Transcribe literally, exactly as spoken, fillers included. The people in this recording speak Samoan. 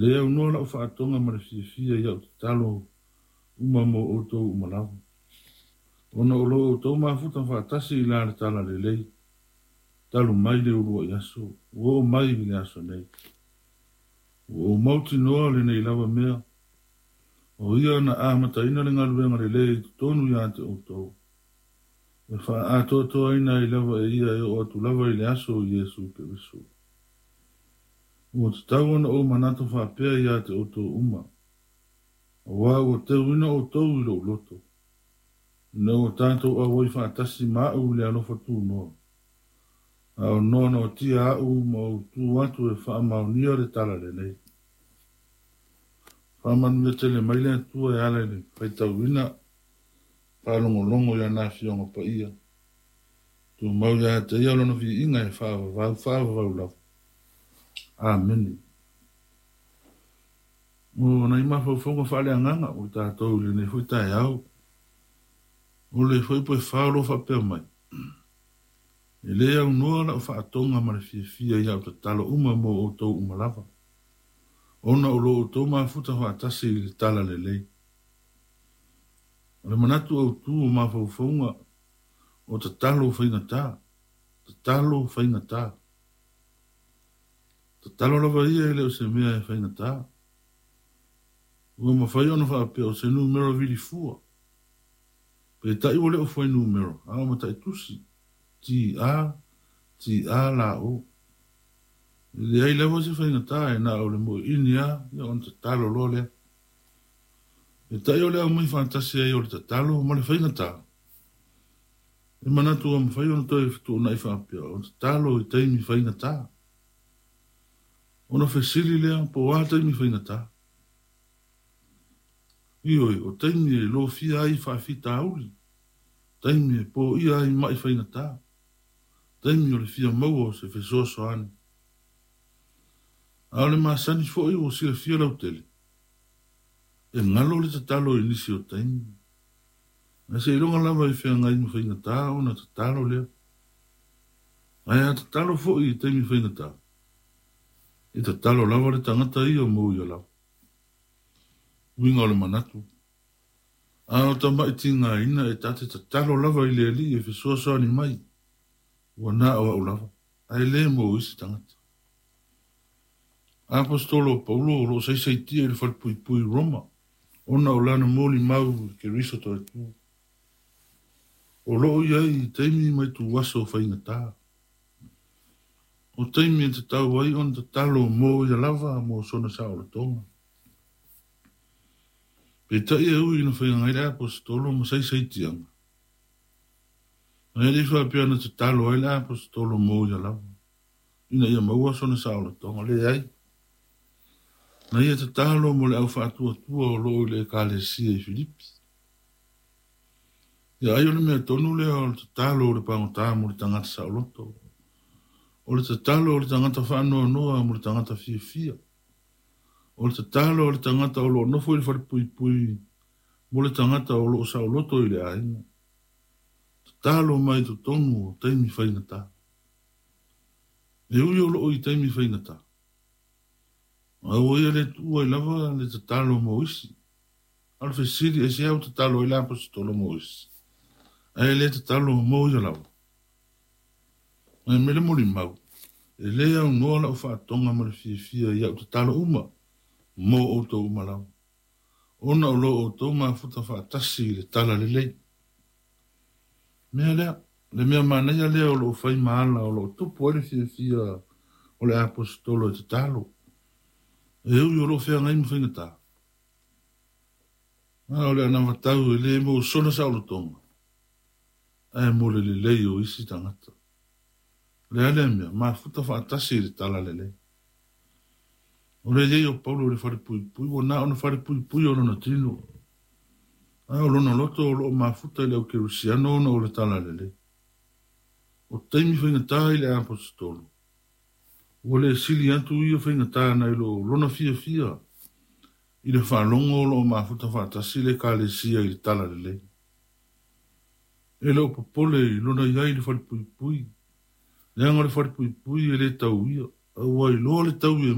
Le aunoa lau faatoga ma le fiafia i au tatalo uma mo outou uma lava. Ona o lo outou mafuta faatasi i la le tala lelei, talu mai le uluai aso, ua oo mai i le aso nei. Ua ou mautinoa lenei lava mea, o ia na amataina le galuega lelei i totonu ia te outou. E faaatoatoaina ai lava e ia e oo atu lava i le aso o Iesu Keriso. Ua tatau ona ou manatu faapea ia te outou uma, auā ua teuina outou i lou loto, ina ua tatou auai faatasi ma au i le alofa tunoa, a o noanoatia au ma ou tu atu e faamaonia le tala lelei. Faamanuia tele mai le Atua e ala i le faitauina faalogologo i ana Afioga Paia. Tumau ia te ia lona viiga e faavavau faavavau lava. Amene. O nai mafaufauga faaleagaga o tatou i lenei foi taeao. O le fuaiupu e fa o lo o faapea mai. E le aunoa lau faatoga ma le fiafia i au tatalo uma mo outou uma lava, ona o lo outou mafuta faatasi i le tala lelei. O le manatu autu o mafaufauga o tatalo faigata, tatalo faigata. Tatalo lava ia e le o se mea e faigata. Ua mafai ona faapea o se numera vilifua. Peitai ua le o fuainumera, a o mataitusi. T A, T A la O. E leai lava se faigata e na o le moeini lava, ia ona tatalo loa lea. Peitai o le aumai faatasi ai o le tatalo ma le faigata. E manatu ua mafai ona toe fetuunai faapea o tatalo i taimi faigata. Ona fesili lea po o a taimi faigata. Ioe, o taimi e lofia ai faafitauli, taimi e poia ai mai faigata, taimi o le fia maua o se fesoasoani. A o le masani foi ua silafia lautele, e galo le tatalo i nisi o taimi. Ae seiloga lava i feagai ma faigata ona tatalo lea. Ae a tatalo foi i taimi faigata, e tatalo lava le tagata ia mo ia lava. Uiga o le manatu. A o tama'i tigaina e ta te tatalo lava i le Alii e fesoasoani mai, ua na o au lava, ae le mo isi tagata. Aposetolo o Paulo o lo o saisaitia i le falepuipui i Roma, ona o lana molimau i Keriso toe tu. O lo o i ai i taimi ma ituaso faigata. O taimi e tatau ai ona tatalo mo ia lava mo sona saolotoga. Peitai e ui ina feagai le aposetolo ma saisaitiaga. Ae le i faapea na tatalo ai le aposetolo mo ia lava, ina ia maua sona saolotoga. Leai. Na ia tatalo mo le au faatuatua o lo o i le ekalesia i Filipi. Ia ai o le mea tonu lea o le tatalo o le pagota mo le tagata saoloto. O le tatalo o le tagata faanoanoa mo le tagata fiafia. O le tatalo o le tagata o lo o nofo i le falepuipui mo le tagata o lo o saoloto i le aiga. Tatalo mai totonu o taimi faigata. E ui o lo o i taimi faigata. A ua ia le tuua ai lava le tatalo mo isi. A o le fesili e se au tatalo ai le aposetolo mo isi. Ae le tatalo mo ia lava. Ae me le molimau, e le aunoa lau faatoga ma le fiafia i au tatalo uma mo outou uma lava. Ona o lo outou mafuta faatasi i le tala lelei. Mea lea, le mea manaia lea o lo o fai ma ala o lo o tupu ai le fiafia o le aposetolo e tatalo. E ui o lo o feagai ma faigata. A o le anavatau e le mo sona saolotoga, ae mo le lelei o isi tagata. O le a lea mea, mafuta faatasi i le tala lelei. O le iai o Paulo i le falepuipui, ua na ona falepuipui o lona tino. A o lona loto o lo o mafuta i le au kerisiano ona o le tala lelei. O taimi faigata i le aposetolo, ua le sili atu ia faigata nai lo lona fiafia i le faalogo o lo o mafuta faatasi le ekalesia i le tala lelei. E le o popole i lona iai i le falepuipui, leaga o le falepuipui e le tau ia, a ua iloa le taui e